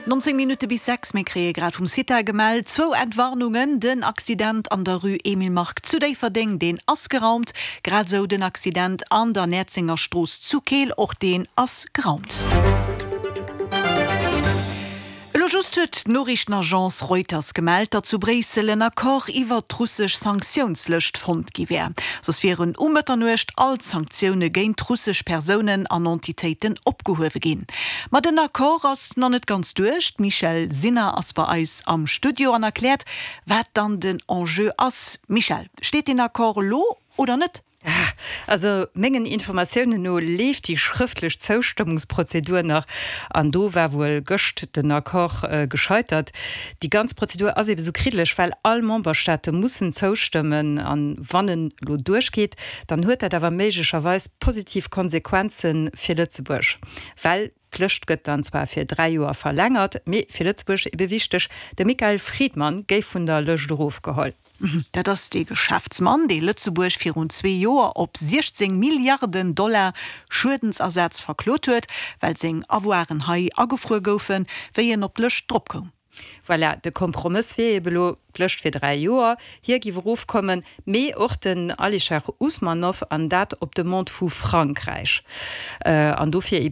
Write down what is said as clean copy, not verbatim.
19 Minutte bis 6, Mir kréie grad vum CITA gemellt, zwou Entwarnungen, Den Accident an der Rue Emile Mark zu Déifferdeng, deen ass geraumt. Grad esou den Accident an der Näerzenger Strooss zu Keel, och deen ass geraumt. Elo just huet d'Noriichtenagence Reuters gemellt, datt zu Bréissel en Accord iwwert d'russesch Sanktiounslëscht fonnt gi wär. Soss wieren um Mëtternuecht all d'Sanktioune géint russesch Persounen an Entitéiten opgehuewe ginn. Ma den Accord ass nach net ganz duerch. D'Michèle Sinner ass bei eis am Studio an erkläert, wat dann den Enjeu ass. Michèle, steet deen Accord elo oder net? Also mengen Informatiounen no leeft déi schrëftlech Zoustëmmungsprozedur nach an do war wuel gëscht den Accord gescheitert. Déi ganz Prozedur ass ebe sou kriddeleg, well all Memberstaate mussen zoustëmmen an wann en elo duerchgeet, dann huet dat awer méiglecherweis positiv Konsequenze fir Lëtzebuerg, well d'Lëscht gëtt dann zwar fir 3 Joer verlängert, mee fir Lëtzebuerg ebe wichteg, de Michael Friedman géif vun der Lëscht erofgeholl. Dat ass dee Geschäftsmann, dee Lëtzebuerg virun zwee Joer op 16 Milliarden Dollar Schuedensersaz verklot huet, well seng Avoiren hei agefruer goufen, wéi en op d'Lëscht drop koum. Voilà, de Kompromëss wier ebe lo, d'Lëscht fir 3 Joer, hie giff erofkommen, mee och den Alisher Usmanov, an dat op Demande vu Frankräich. An dofir ebe.